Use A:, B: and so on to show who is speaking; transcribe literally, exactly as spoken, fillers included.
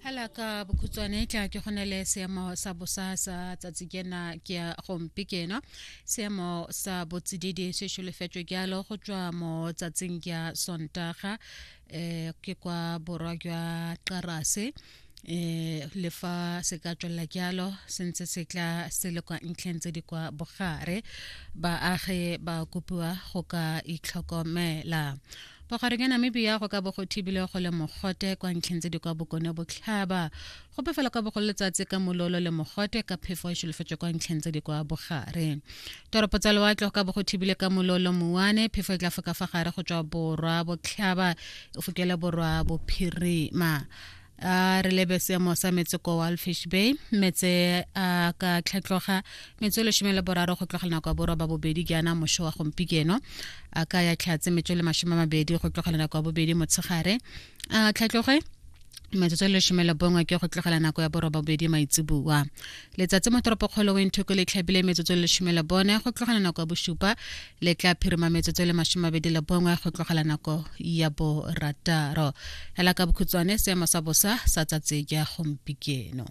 A: Hela ka bokhutswane tla ke go ne le seemo sa bosa sa tsatsi kena ke ya gompikeno. Seemo sa botsididi se solofetswe jalo go tswa mo tsatsing ya Sontaga um ke kwa borwa jwa Qarase, eh le fa se ka tswelela jalo se ntse se tla se le kwa ntlheng tse di kwa bogare. Baagi ba kopiwa go ka itlhokomela. Bogareng ya Namibia go ka bo go thibile go le mogote kwa ntlheng tse di kwa bokone botlhaba. Gope fela kwa bogolo letsatsi ka mololo le mogote ka phefo e solofetswe kwa ntlheng tse di kwa bogare. Toropo tsa lewatle go ka bo go thibile ka mololo moane, phefo e tla foka fa gare go tswa borwa botlhaba e fokele borwa bophirima. A re lebe seemo sa metse ko Walfish Bay. Metse a ka tlhatloga metse e lesome le boraro go tlogela nako ya borwa ba bobedi jaana mošo wa gompieno, a ka ya tlhatse metse le masome a mabedi go tlogela nako ya bobedi motshegare, a tlhatloge metsotso e lesome le bongwe ke go tlogela nako ya boroba bobedi maitseboa. Letsatsi mo toropokgolo Windhoek le tlhabile metsotso e lesome le bone go tlogela nako ya bosupa, le tla phirima metsotso e le masome a mabedi le bongwe go tlogela nako ya borataro. Hela ka bokhutswane seemo sa bosa sa tsatsi ja gompieno.